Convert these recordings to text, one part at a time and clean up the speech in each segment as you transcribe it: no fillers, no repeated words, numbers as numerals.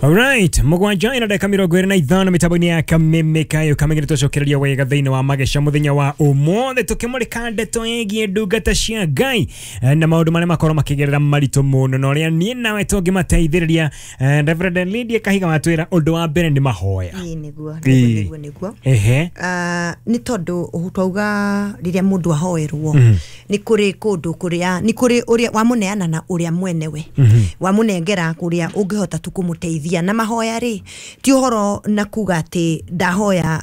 Alright, mũgwanja ina ndagĩka 25 mĩtambo-inĩ ya Kameme Kayo Kameme tũcokereria wega thĩinĩ wa mageca mũthenya wa ũmũthĩ tũkĩmũrĩka ndeto ĩgiĩ ndungata cia Ngai na maũndũ marĩa makorwo makĩgerera maritũ mũno na ũrĩa niĩ nawe tũngĩmateithĩrĩria. Reverend Lydia Kahiga watwĩra ũndũ wa mbere nĩ mahoya. Ĩĩ nĩguo, nĩguo, nĩguo, nĩguo. Nĩ tondũ twauga rĩrĩa mũndũ ahoerwo nĩ kũrĩ kũndũ kũrĩa nĩ kũrĩ ũrĩa wamũneana na ũrĩa mwenewe wamũnengera kũrĩa ũngĩhota tu kũmũteithia. Na mahoya rĩ ti ũhoro na kuga atĩ ndahoya,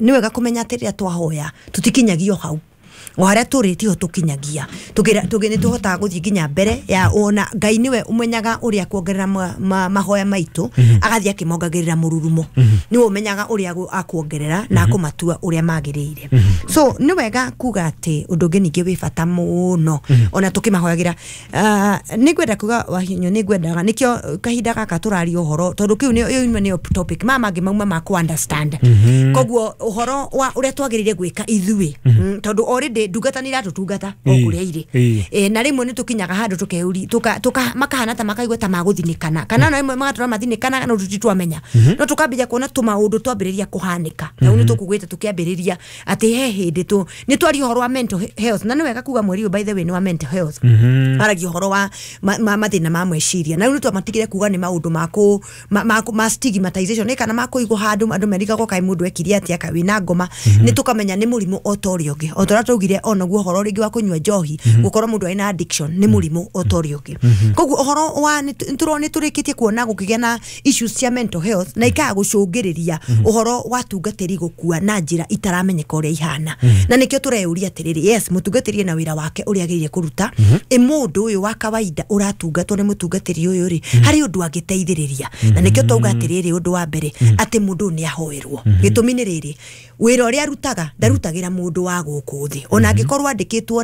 nĩ wega kũmenya atĩ rĩrĩa twahoya tũtikinyagio hau o harĩa tũrĩ tiho tũkinyagia, nĩ tũhotaga gũthiĩ nginya mbere ya ona Ngai nĩwe ũmenyaga ũrĩa kuongerera mahoya maitũ, agathiĩ akĩmongagĩrĩra mũrurumo, nĩwe ũmenyaga ũrĩa akuongerera na akũmatua ũrĩa magĩrĩire. So nĩ wega kuga atĩ ũndũ ũngĩ ningĩ wĩ bata mũno ona tũkĩmahoyagĩra, nĩ ngwenda kuga Wahinyũ, nĩ ngwendaga nĩkĩo kahinda gaka tũraria ũhoro tondũ kĩu nĩ ĩyo nĩyo topic maya mangĩ mauma ma kũ understand. Koguo ũhoro wa ũrĩa twagĩrĩire gwĩka ithuĩ, tondũ already ndungata nĩ iratũtungata o kũrĩa irĩ, na rĩmwe nĩ tũkinyaga handũ tũkeũri makahana ta makaigua ta magũthinĩkana kana na rĩmwe magatũra mathinĩkana no tũtitwamenya, no tũkambĩrĩria kuona tũmaũndũ twambĩrĩria kũhanĩka. Rĩu nĩ tũkugĩte tũkĩambĩrĩria atĩ he hĩndĩ tũ nĩ twaria ũhoro wa mental health, na nĩ wega kuga mweri ũyũ by the way nĩ wa mental health, aragia ũhoro wa mathĩna ma meciria, na rĩu nĩ twamatigire kuga nĩ maũndũ ma stigmatization nĩ kana makũigwo handũ andũ merigagwo kaĩ mũndũ ekire atĩa kaĩ wĩna ngoma, nĩ tũkamenya nĩ mũrimũ o ta ũrĩa ũngĩ, o ta ũrĩa twaugire onaguo ũhoro rĩngĩ wa kũnyua njohi gũkorwo mũndũ arĩ na addiction nĩ mũrimũ o ta ũrĩa ũngĩ. Koguo ũhoro wa nĩ tũrĩkĩtie kuona gũkĩgĩa na issues cia mental health na ikaga gũcũngĩrĩria ũhoro wa tungatĩri gũkua na njĩra itaramenyeka ũrĩa ihana, na nĩkĩo tũreyũria atĩrĩrĩ, yes mũtungatĩri ena wĩra wake ũrĩa agĩrĩire kũruta, ĩ mũndũ ũyũ wa kawaida ũratungatwo nĩ mũtungatĩri ũyũ rĩ harĩ ũndũ angĩteithĩrĩria, na nĩkĩo twauga atĩrĩrĩ ũndũ wa mbere atĩ mũndũ ũyũ nĩ ahoerwo. Gĩtũmi nĩ rĩrĩ, wĩra ũrĩa arutaga ndarutagĩra mũndũ wa gũkũ thĩ, ona angĩkorwo andĩkĩtwo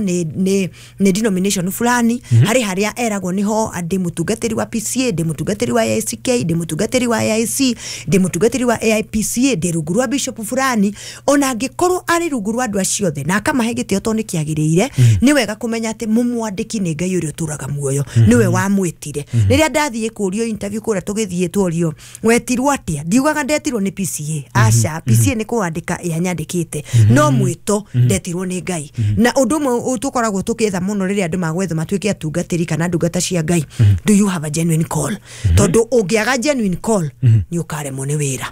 nĩ denomination fulani, harĩ harĩa eragwo nĩho ndĩ mũtungatĩri wa PCA, ndĩ mũtungatĩri wa AICK, ndĩ mũtungatĩri wa AIC, ndĩ mũtungatĩri wa AIPCA, ndĩ rungu rwa bishop fulani, ona angĩkorwo arĩ rungu rwa andũ acio othe na akamahe gĩtĩo tondũ nĩ kĩagĩrĩire, nĩ wega kũmenya atĩ mũmwandĩki nĩ Ngai ũrĩa ũtũraga muoyo, nĩwe wamwĩtire. Rĩrĩa ndathiĩ kũrio interview kũrĩa tũgĩthiĩ tworio wetirwo atĩa, ndiugaga ndetirwo nĩ PCA, aca PCA nĩ kũwandĩka yanyandĩkĩte, no mwĩto ndetirwo nĩ Ngai. Na ũndũ ũmwe tũkoragwo tũkĩetha mũno rĩrĩa andũ magwetha matuĩke atungatĩri kana ndungata cia Ngai, do you have a genuine call? Tondũ ũngĩaga genuine call nĩ ũkaremwo nĩ wĩra.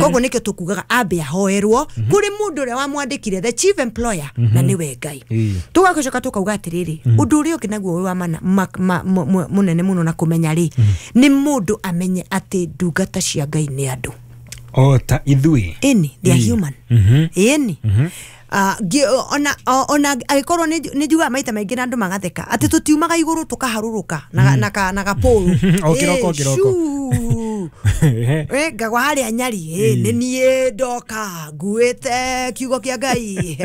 Koguo nĩkĩo tũkugaga ambe ahoerwo kũrĩ mũndũ ũrĩa wamwandĩkire, the chief employer, na nĩwe Ngai. Tũgacoka tũkauga atĩrĩrĩ, ũndũ ũrĩa ũngĩ naguo wĩ wa mana mũnene mũno na kũmenya rĩ, nĩ mũndũ amenye atĩ ndungata cia Ngai nĩ andũ o ta ithuĩ, ĩni they are human, ĩni ona angĩkorwo nĩ njugaga maita maingĩ na andũ magatheka atĩ tũtiumaga igũrũ tũkaharũrũka na gapũrũ o kĩroko kĩroko ngagwa harĩa Nyari, nĩ niĩ ndoka nguĩte kiugo kĩa Ngai,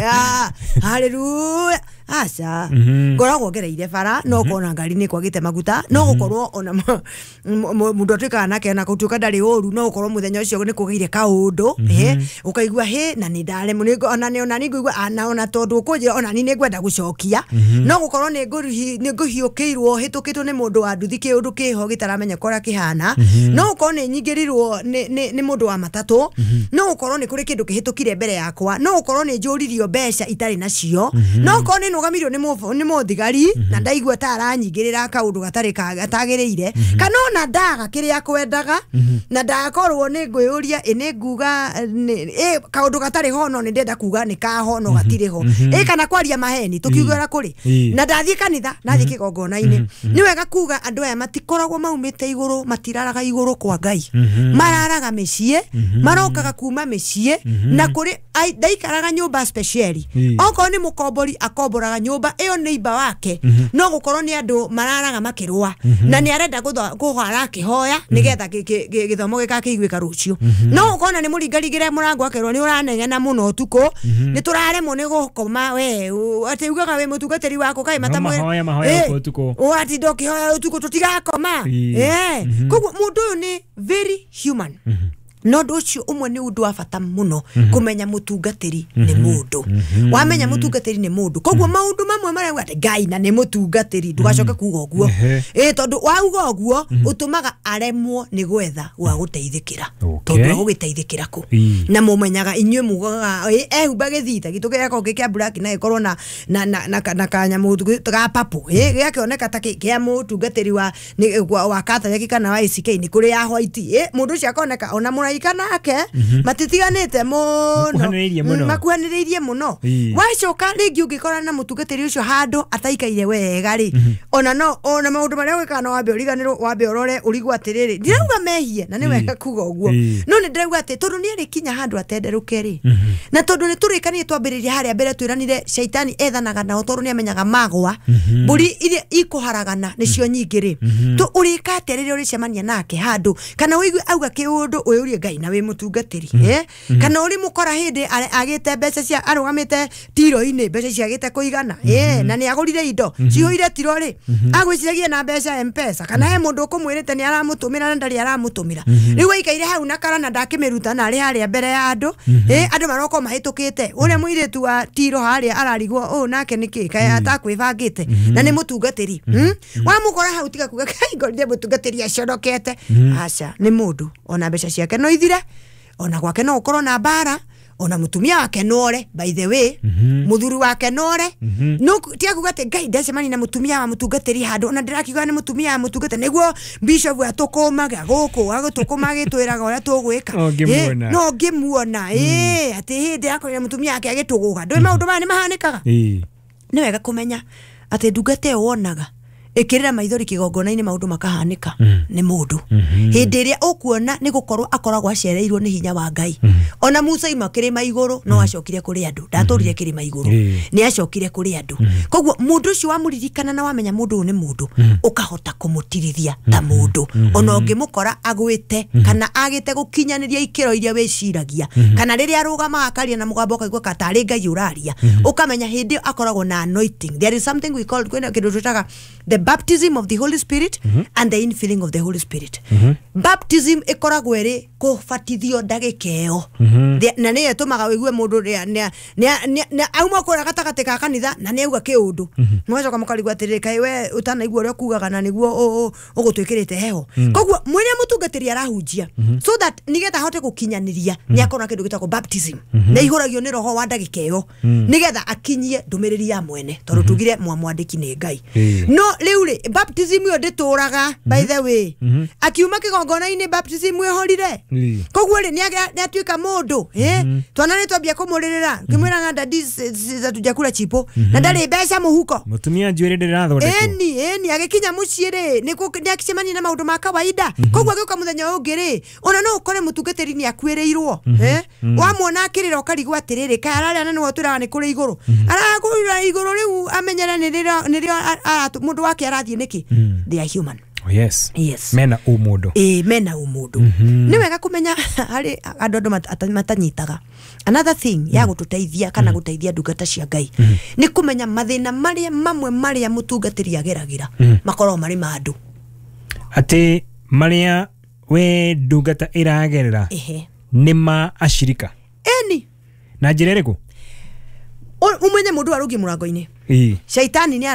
haleluya, aca ngoragwo ngereire bara no kona ngari nĩ kwagĩte maguta, no gũkorwo ona mũndũ atuĩkaga nake ona gũtuĩka ndarĩ ũru, no gũkorwo mũthenya ũcio nĩ kũgĩire kaũndũ, ũkaigua hĩ na nĩ ndaremwo, ona nĩ ngũigua ona tondũ ũkũnjĩra ona niĩ nĩ ngwenda gũcokia, no gũkorwo nĩ ngũhiũkĩirwo hĩtũkĩtwo nĩ mũndũ wa nduthi kĩũndũ kĩho gĩtaramenyeka ũrĩa kĩhana, no gũkorwo nĩ nyingĩrirwo nĩ mũndũ wa matatũ, no gũkorwo nĩ kũrĩ kĩndũ kĩhĩtũkire mbere yakwa, no gũkorwo nĩ njũririo mbeca itarĩ nacio, no gũkorwo nĩ nũgamirio nĩ mũthigari na ndaigua ta aranyingĩrĩra kaũndũ gatarĩ gatagĩrĩire, kana ona ndaga kĩrĩa kwendaga na ndakorwo nĩ ngwĩyũria ĩ nĩ nguga kaũndũ gatarĩ ho no nĩ ndenda kuga nĩ kaho no gatirĩ ho, ĩ kana kwaria maheni tũkiugĩra kũrĩ na ndathiĩ kanitha ndathiĩ kĩgongona-inĩ. Nĩ wega kuga andũ aya matikoragwo maumĩte igũrũ, matiraraga igũrũ kwa Ngai, mararaga mĩciĩ, marokaga kuma mĩciĩ na kũrĩ ndaikaraga nyũmba speciali, okorwo nĩ mũkombori akomboraga nyũmba ĩyo nĩ iba wake, no gũkorwo nĩ andũ mararaga makĩrũa na nĩ arenda kũhara akĩhoya nĩgetha gĩthomo gĩgakĩiguĩka rũciũ, no gũkorwo nĩ mũringarigĩre mũrango akerwo nĩ ũranegena mũno ũtukũ, nĩ tũraremwo nĩ gũkoma we atĩ ugaga wĩ mũtungatĩri wako kaĩ matamwĩra ũratinda ũkĩhoya ũtukũ tũtigakoma. Koguo mũndũ ũyũ nĩ very human. No ũndũ ũcio ũmwe nĩ ũndũ wa bata mũno kũmenya mũtungatĩri nĩ mũndũ. Wamenya mũtungatĩri nĩ mũndũ, koguo maũndũ mamwe marĩa uga atĩ Ngai na nĩ mũtungatĩri, ndũgacoke kuga ũguo. Tondũ wauga ũguo ũtũmaga aremwo nĩ gwetha gwa gũteithĩkĩra. Tondũ agũgĩteithĩkĩra kũ? Na mũmenyaga inyuĩ mugaga ehumba gĩthita gitũ gĩakorwo gĩ kĩa black na gĩkorwo na kanyamũ ga purple, gĩakĩoneka ta kĩa mũtungatĩri wa Catholic kana wa ACK, nĩ kũrĩ ya white. Mũndũ ũcio akoneka ona mũraika nake matitiganĩte mũno, makuhanĩrĩirie mũno. Wacoka rĩngĩ ũngĩkora na mũtungatĩri ũcio handũ ataikaire wega rĩ, ona no ona maũndũ marĩa ũgĩkaga no wambe ũriganĩrwo, wambe ũrore ũrigwo atĩrĩrĩ, ndirauga mehie na nĩ wega kuga ũguo, no nĩ ndĩrauga atĩ tondũ nĩ arĩkinya handũ atenderũke rĩ, na tondũ nĩ tũrĩkanire twambĩrĩria harĩa mbere twĩranire caitani ethanaga nao tondũ nĩ amenyaga magwa mbũri iria ikũharagana nĩcio nyingĩ rĩ, tũ ũrĩka atĩa rĩrĩa ũrĩcemania nake handũ kana ũigue auga kĩũndũ ũyũrie Ngai na wĩ mũtungatĩri, kana ũrĩ mũkora hĩndĩ agĩte mbeca cia arũgamĩte tiro-inĩ, mbeca ciagĩte kũigana, na nĩ agũrire indo cihũire tiro rĩ, agwĩciragia na mbeca M-Pesa, kana he mũndũ ũkũmwĩrĩte nĩ aramũtũmĩra na ndarĩ aramũtũmĩra. Rĩu aikaire hau na kara na ndakĩmĩruta na arĩ harĩa mbere ya andũ, andũ maroka mahĩtũkĩte, ũrĩa mũirĩtu wa tiro harĩa ararigwo ũũ nake nĩkĩ kaĩ atakwĩbangĩte na nĩ mũtungatĩri. Wamũkora hau tiga kuga kai ngorire mũtungatĩri acorokete. Aca, nĩ mũndũ ona mbeca ciake no ithire, ona gwake no ũkorwo na mbara, ona mutumia wake nore, by the way, muthuri wake nore, no tiga kuga atĩ Ngai ndacemania na mutumia wa mũtungatĩri handũ ona ndĩrakiuga nĩ mutumia wa mũtungatĩri nĩguo bishop atũkũmaga gũkũ agũtũkũma agĩtwĩraga ũrĩa tũgwĩka, no ngĩmuona atĩ hĩndĩ akorire mutumia wake agĩtũgũga. Ndũĩ maũndũ maya nĩ mahanĩkaga. Nĩ wega kũmenya atĩ ndungata ĩyo wonaga ĩkĩrĩra maithori kĩgongona-inĩ maũndũ makahanĩka nĩ mũndũ. Hĩndĩ ĩrĩa ũkuona nĩ gũkorwo akoragwo acereirwo nĩ hinya wa Ngai. Ona Musa ima kĩrĩma igũrũ no acokire kũrĩ andũ, ndatũrire kĩrĩma igũrũ, nĩ acokire kũrĩ andũ. Koguo mũndũ ũcio wamũririkana na wamenya mũndũ ũyũ nĩ mũndũ, ũkahota kũmũtirithia ta mũndũ. Ona ũngĩmũkora agwĩte kana agĩte gũkinyanĩria ikĩro iria wĩciragia, kana rĩrĩa arũgama akaria na mũgambo ũkaigua ka tarĩ Ngai ũraria, ũkamenya hĩndĩ ĩyo akoragwo na anointing. There is something we call kwĩna kĩndũ twĩtaga the baptism of the Holy Spirit and the infilling of the Holy Spirit. Baptism ĩkoragwo ĩrĩ kũbatithio ndagĩka ĩyo, na nĩyo ĩtũmaga ũigue mũndũ auma kũrĩa gatagatĩ ka kanitha na nĩ auga kĩũndũ, mũgacoka mũkarigwo atĩrĩrĩ, kaĩ we ũtanaigua ũrĩa ũkugaga na nĩguo ũgũtwĩkĩrĩte heho. Koguo mwĩrĩa mũtungatĩri arahunjia so that nĩgetha ahote gũkinyanĩria nĩ akorwo na kĩndũ gĩtagwo baptism, na ihũragio nĩ roho wa ndagĩka ĩyo nĩgetha akinyie ndũmĩrĩri ya mwene, tondũ tugire mwamwandĩki nĩ Ngai. No rĩu rĩ, baptism ĩyo ndĩtũraga, by the way, akiuma kĩgongona-inĩ baptism ĩhorire. Koguo rĩ nĩ atuĩka mũndũ, twana nĩ twambia kũmũrĩrĩra kĩmwĩraga dadi hatujakula chipo na ndarĩ mbeca mũhuko, mũtumia njuĩrĩ ndĩrathondekwo. Ĩni agĩkinya mũciĩ rĩ nĩ akĩcemania na maũndũ ma kawaida. Koguo agĩũka mũthenya ũngĩ rĩ, ona no ũkore mũtungatĩri nĩ akuĩrĩirwo, wamuona akĩrĩra ũkarigwo atĩrĩrĩ, kaĩ ararĩa na nĩwe ũtwĩraga nĩ kũrĩ igũrũ, arakũrĩra igũrũ rĩu amenyere nĩrĩo mũndũ wake arathiĩ nĩkĩ. They are human. Oh, yes. Yes. Mena ũmũndũ. Mena ũmũndũ. Nĩ wega kũmenya harĩ andũ matanyitaga. Another thing ya gũtũteithia kana gũteithia ndungata cia Ngai nĩ kũmenya mathĩna marĩa mamwe marĩa mũtungatĩri ageragĩra makoragwo marĩ ma andũ. Atĩ marĩa we ndungata ĩragerera nĩ ma acirika. Ĩni. Na njĩra ĩrĩkũ? Ũmenye mũndũ arũngiĩ mũrango-inĩ. Shaitani nĩ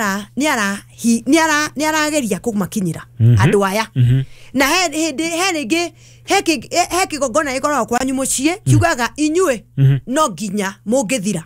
arageria kũmakinyĩra andũ aya. Na he hĩndĩ he rĩngĩ he kĩgongona gĩkoragwo kwanyu mũciĩ kiugaga inyuĩ no nginya mũngĩthira.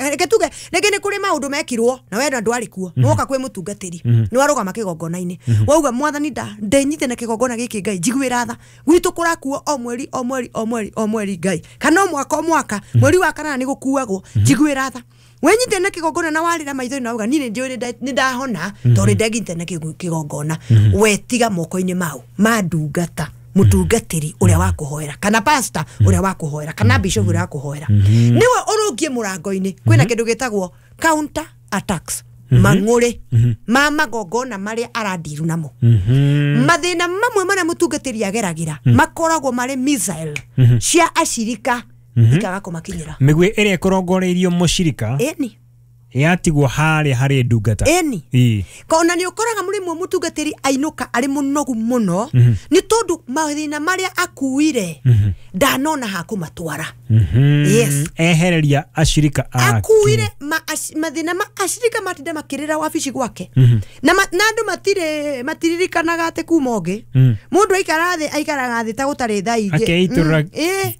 Reke tuge rĩngĩ nĩ kũrĩ maũndũ mekirwo na we ndwarĩ kuo, nĩwoka kwĩ mũtungatĩri nĩwarũgama kĩgongona-inĩ wauga mwathani ndenyite na kĩgongona gĩkĩ Ngai njiguĩra tha, gwitũ kũrakuo o mweri o mweri o mweri o mweri Ngai, kana o mwaka o mwaka mweri wa kanana nĩ gũkuagwo, njiguĩra tha. Wenyite na kĩgongona na warĩra maitho na uga niĩ nĩ ndahona tondũ ndegite na kĩgongona, wetiga moko-inĩ mau ma ndungata mũtungatĩri ũrĩa wa kũhoera kana pastor ũrĩa wa kũhoera kana bishop ũrĩa wa kũhoera, nĩwe ũrũngie mũrango-inĩ. Kwĩna kĩndũ gĩtagwo counter attacks, mang'ũrĩ ma magongona marĩa arandiru namo. Mathĩna mamwe marĩa mũtungatĩri ageragĩra makoragwo marĩ missile cia acirika ikaga kũmakinyĩra. Mĩguĩ ĩrĩa ĩkorongoreirio mũcirika ĩni yatigwo harĩa harĩ ndungata. Ĩni. Kona nĩ ũkoraga mũrĩmwe mũtungatĩri ainũka arĩ mũnogu mũno nĩ tondũ mathĩna marĩa akuire Ndanona ha kũmatwara. Yes. Ehereria ashirika ake. Akuire mathĩna ma ashirika matinda makĩrĩra wabici gwake. Na andũ matiririkanaga atĩ kuma ũngĩ. Mũndũ aikara thĩ aikaraga thĩ ta gũtarĩ thaa ingĩ. Akeitũrũra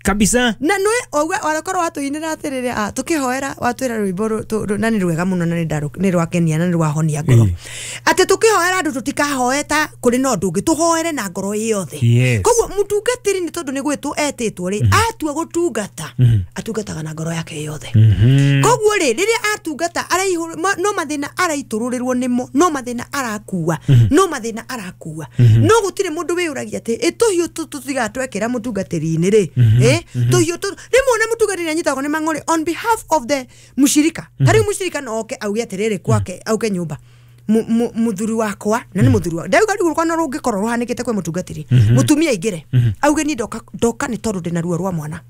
kabisa. Na nĩ warakorwo watũinĩra atĩrĩrĩ tũkĩhoera watwĩra rwĩmbo na nĩ rwega mũno na nĩ rwakenia na nĩ rwahonia ngoro. Atĩ tũkĩhoera andũ tũtikahoe ta kũrĩ na ũndũ ũngĩ, tũhoere na ngoro yothe. Koguo mũtungatĩri nĩ tondũ nĩ gwĩtwo etĩtwo rĩ, atua gũtungata atungataga na ngoro yake yothe. Koguo rĩ, rĩrĩa atungata no mathĩna araitũrũrĩrwo nĩmo, no mathĩna arakua, no mathĩna arakua. No gũtirĩ mũndũ wĩyũragia atĩ ĩ tũhiũ tũtigatwekĩra mũtungatĩri-inĩ rĩ, tũhiũ rĩmwe ona mũtungatĩri anyitagwo nĩ mang'ũrĩ on behalf of the mũshirika. Ta rĩu mũshirika no oke auge atĩrĩrĩ kwake, auke nyũmba muthuri wakwa na nĩ muthuri wa ndauga rĩu rũkwa no rũngĩkorwo rũhanĩkĩte kwĩ mũtungatĩri mũtumia aingĩre auge ni ndoka nĩ tondũ ndĩna ruo rwa mwana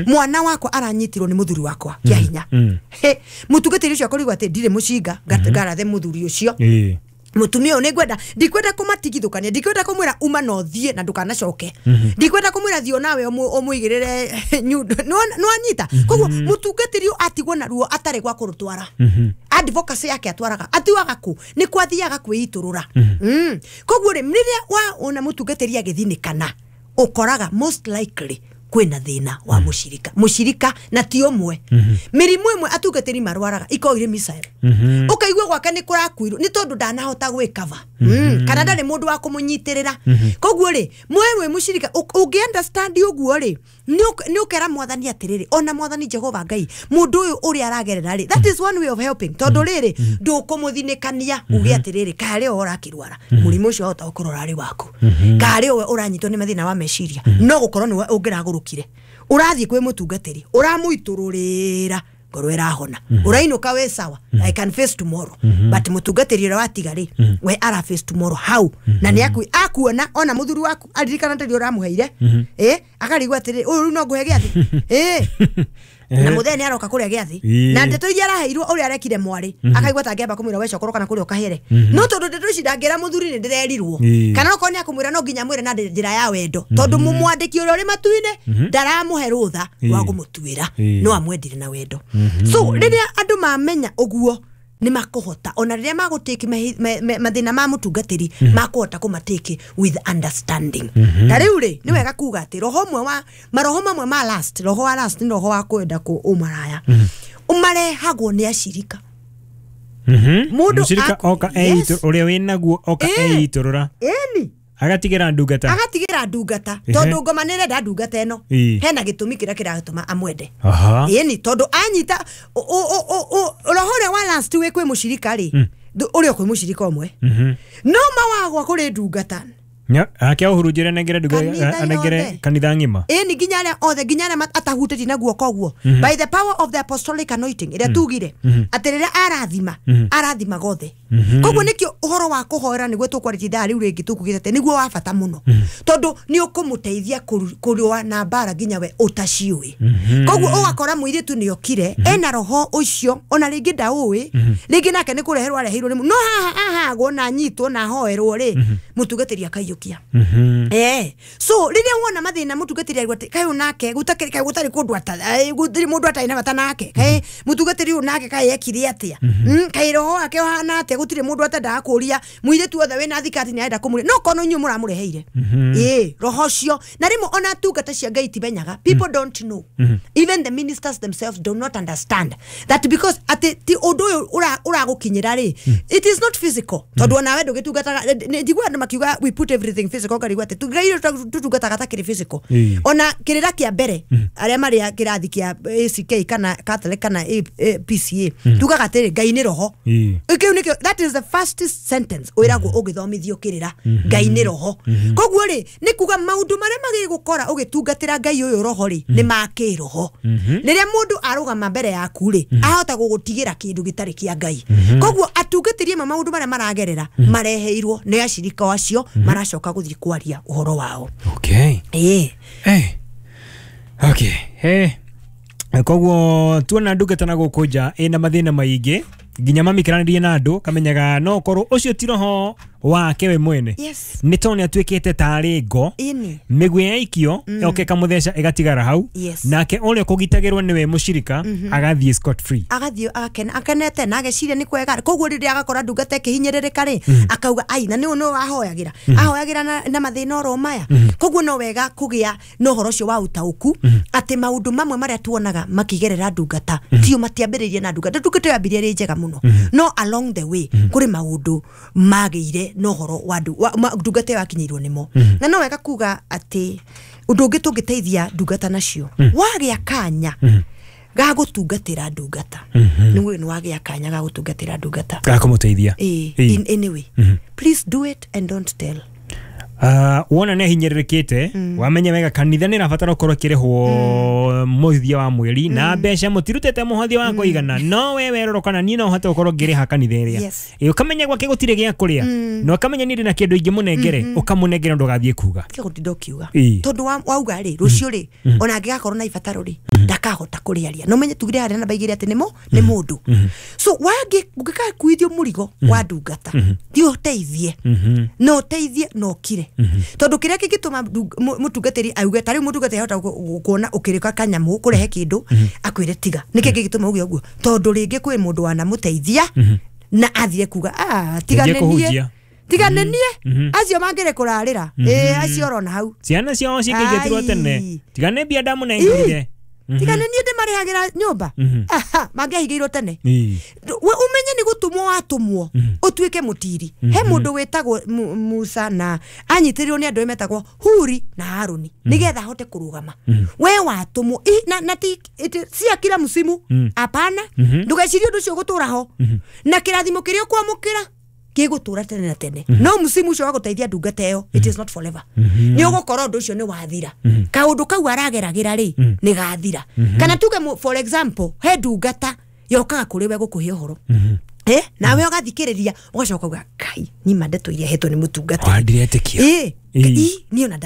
mwana wakwa aranyitirwo nĩ muthuri wakwa kĩa hinya. Mũtungatĩri ũcio akorirwo atĩ ndirĩ mũcinga ngarathe muthuri ũcio mutumia ũyũ nĩngwenda ndikwenda kũmatigithũkania, ndikwenda kũmwĩra uma na ũthiĩ na ndũkanacoke, ndikwenda kũmwĩra thiĩ onawe ũmũigĩrĩre nyundo nĩwanyita. Koguo mũtungatĩri ũyũ atigwo na ruo atarĩ gwa kũrũtwara, advocacy yake atwaraga atiwaga kũ nĩ kwathiaga kwĩitũrũra. Koguo rĩ, rĩrĩa waona mũtungatĩri agĩthinĩkana ũkoraga most likely kwĩna thĩna wa mũshirika mũshirika na ti ũmwe. Mĩrimũ ĩmwe atungatĩri marwaraga ikoragwo irĩ missile, ũkaigua gwake nĩ kũrakuirwo nĩ tondũ ndanahota gwĩkava kana ndarĩ mũndũ wa kũmũnyitĩrĩra. Koguo rĩ, mwe wĩ mũshirika ũngĩ understand ũguo rĩ, nĩ ũkera mwathani atĩrĩrĩ, ona mwathani Jehova Ngai mũndũ ũyũ ũrĩa aragerera rĩ, that is one way of helping. Tondũ rĩrĩ ndũkũmũthinĩkania uge atĩrĩrĩ karĩ o ũrakĩrwara mũrimũ ũcio wahota gũkorwo ũrarĩ waku, karĩ we ũranyitwo nĩ mathĩna wa meciria, no gũkorwo nĩwe ũngĩragũrũkire ũrathiĩ kwĩ mũtungatĩri ũramũitũrũrĩra ngoro ĩrahona, ũrainũka wĩ sawa, I can face tomorrow. But mũtungatĩri ũrĩa watiga rĩ, we ara face tomorrow how? Na nĩ akuona ona mũthuri waku aririkana tondũ ũramũheire akarigwo atĩrĩ ũyũ rĩu no ngũhe gĩathĩ na mũthee nĩ aroka kũrĩa gĩathĩ na ndeto iria araheirwo ũrĩa arekire mwarĩ akaigua ta angĩamba kũmwĩra we cokoro kana kũrĩa ũkahere, no tondũ ndeto ici ndangĩra mũthuri nĩ ndĩrerirwo, kana okorwo nĩ akũmwĩra no nginya amwĩre na njĩra ya wendo tondũ mũmwandĩki ũrĩa ũrĩ matu-inĩ ndaramũhe rũtha rwa kũmũtuĩra, no amwendire na wendo. So rĩrĩa andũ mamenya ũguo nĩ makũhota ona rĩrĩa magũtĩki mathĩna ma mũtungatĩri makũhota kũmatĩki with understanding. Ta rĩu rĩ, nĩ wega kuga atĩ roho ũmwe wa maroho mamwe ma last, roho wa last nĩ roho wa kwenda kũmaraya ũmarehagwo nĩ ashirika. Mũndũ mũshirika oka ũrĩa wĩnaguo oka eitũrũra agatigĩra ndungata, agatigĩra ndungata tondũ ngoma nĩ ĩrenda ndungata ĩno hena gĩtũmi kĩrĩa kĩratũma amwende. Ĩni tondũ anyita roho ũrĩa wa last wĩ kwĩ mũshirika rĩ, ũrĩa kwĩ mũshirika ũmwe no mawagwa kũrĩ ndungata ake ũhurunjĩre anengere anengere kanitha ng'ima. Ĩni nginya arĩa othe nginya arĩa atahutĩtie na guoko ũguo by the power of the apostolic anointing ĩrĩa tugire atĩ rĩrĩa arathima arathimaga othe. Koguo nĩkĩo ũhoro wa kũhoera nĩguo tũkwarĩtie ithaa rĩu rĩngĩ tũkugĩte atĩ nĩguo wa bata mũno tondũ nĩ ũkũmũteithia kũrũa na mbara nginya we ũtaciũĩ. Koguo ũgakora mũirĩtu nĩ okire ena roho ũcio ona rĩngĩ ndaũĩ, rĩngĩ nake nĩ kũreherwo areheirwo no haha ahagwo na anyitwo na ahoerwo rĩ, mũtungatĩri akaiyũkia. So rĩrĩa wona mathĩna mũtungatĩri aigua atĩ kaĩ nake gũtakĩrĩ kaĩ gũtarĩ kũndũ gũtirĩ mũndũ atarĩ na bata nake, kaĩ mũtungatĩri ũyũ nake kaĩ ekire atĩa, kaĩ roho wake ũhana atĩa, gũtirĩ mũndũ atendaga kũria mũirĩtu othe wĩna thikati nĩ arenda kũmũria no kono inyuĩ mũramũreheire roho ũcio. Na rĩmwe ona tungata cia Ngai timenyaga, people don't know, even the ministers themselves do not understand that because atĩ ti ũndũ ũyũ ũragũkinyĩra rĩ, it is not physical tondũ onawe ndũgĩtungataga njigua andũ makiuga we put everything physical ngarigwo atĩ Ngai tũtungataga ta kĩrĩ physical. Ona kĩrĩra kĩa mbere arĩa marĩ kĩrathi kĩa ACK kana Catholic kana PCA tugaga atĩrĩ Ngai nĩ roho. Kĩu nĩkĩo, that is the first sentence wĩragwo ũgĩthomithio kĩrĩra, Ngai nĩ roho. Koguo rĩ nĩ kuga maũndũ marĩa magĩgũkora ũgĩtungatĩra Ngai ũyũ roho rĩ nĩ ma kĩroho. Rĩrĩa mũndũ arũgama mbere yaku rĩ ahota gũgũtigĩra kĩndũ gĩtarĩ kĩa Ngai. Koguo atungatĩri amwe maũndũ marĩa maragerera mareheirwo nĩ ashirika acio maracoka gũthiĩ kwaria ũhoro wao. Okay. Okay. Koguo tuona ndungata na gũkũ nja ĩna mathĩna maingĩ nginya mamĩkĩranĩrie na andũ kamenyaga no korwo ũcio ti roho Wake we mwene. Yes. Nĩ tondũ nĩ atuĩkĩte tarĩ ngo. Ĩni. Mĩguĩ yaikio yoke ĩkamũtheca ĩgatigara hau. Yes. Nake ũrĩa ũkũgitagĩrwo nĩwe mũcirika agathiĩ scot free. Agathiĩ agakena akenete na ageciria nĩ kwega. Koguo rĩrĩa agakora ndungata ĩkĩhinyĩrĩrĩka rĩ, akauga ai na nĩ nĩ ahoyagĩra. Ahoyagĩra na mathĩna oro maya. Koguo no wega kũgĩa na ũhoro ũcio wa ũtaũku atĩ maũndũ mamwe marĩa tuonaga makĩgerera ndungata tio matiambĩrĩirie na ndungata. Ndungata yambirie ĩrĩ njega mũno, no along the way kũrĩ maũndũ magĩire na ũhoro wa ndungata ĩyo yakinyĩirwo nĩmo. Na no wega kuga atĩ ũndũ ũngĩ tũngĩteithia ndungata nacio, wagĩa kanya ga gũtungatĩra ndungata, nĩ nĩ wagĩa kanya ga gũtungatĩra ndungata ga kũmũteithia. In any way, please do it and don't tell. Wona nĩ ahinyĩrĩrĩkĩte, wamenya wega kanitha nĩ ĩrabatara gũkorwo ĩkĩrĩhwo mũthia wa mweri na mbeca mũtirutĩte mũhothi wa kũigana, no we werorwo kana niĩ no hote gũkorwo ngĩrĩha kanitha ĩrĩa. Yes. Ũkamenya gwake gũtirĩ gĩa kũrĩa, na ũkamenya niĩ ndĩna kĩndũ ingĩmũnengere, ũkamũnengera ndũgathiĩ kuga. Tiga gũtinda ũkiuga. Ĩĩ. Tondũ wauga rĩ, rũciũ rĩ, ona angĩgakorwo na ibataro rĩ, ndakahota kũrĩaria. No menye tugire harĩa namba igĩrĩ atĩ nĩ mũndũ. So ũngĩgakuithio mũrigo wa ndungata, thiĩ ũteithie. No ũteithie na ũkire. Tondũ kĩrĩa kĩngĩtũma mũtungatĩri auge, ta rĩu mũtungatĩri ahota kuona ũkĩrĩka kanyamũ kũrehe kĩndũ, akwĩre tiga. Nĩkĩ kĩngĩtũma uge ũguo? Tondũ rĩngĩ kwĩ mũndũ wanamũteithia na athire kuga, tiga Nĩngiĩ nĩ niĩ. kũhunjia. Tiga nĩ niĩ. Acio mangĩrĩ kũrarĩra. Acio ũrona hau. Ciana ciao cikĩingatirwo tene. Tiga nĩ mbia ndamũnengerire. Tiga nĩ niĩ ndĩmarĩhagĩra nyũmba. Aha, mangĩahingĩirwo tene. We ũmenye nĩ gũtũmwo watũmwo ũtuĩke mũtiri. He mũndũ wĩtagwo Musa na anyitĩrĩirwo nĩ andũ metagwo Huri na Haruni nĩgetha ahote kũrũgama. We watũmwo na ti cia kila msimu. Hapana. Ndũgecirie ũndũ ũcio ũgũtũra ho. Na kĩrathimo kĩrĩa ũkwamũkĩra gĩgũtũra tene na tene. No msimu ũcio wa gũteithia ndungata ĩyo, it is not forever. Nĩ ũgũkora ũndũ ũcio nĩ wathira. Kaũndũ kau arageragĩra rĩ, nĩ gathira. Kana tuge for example, he ndungata yokaga kũrĩ we gũkũhe ũhoro. Nawe ũgathikĩrĩria ũgacoka uga kai ni ma ndeto iria hetwo nĩ mũtungatĩri. Wa ndiretĩkia. Niĩ ona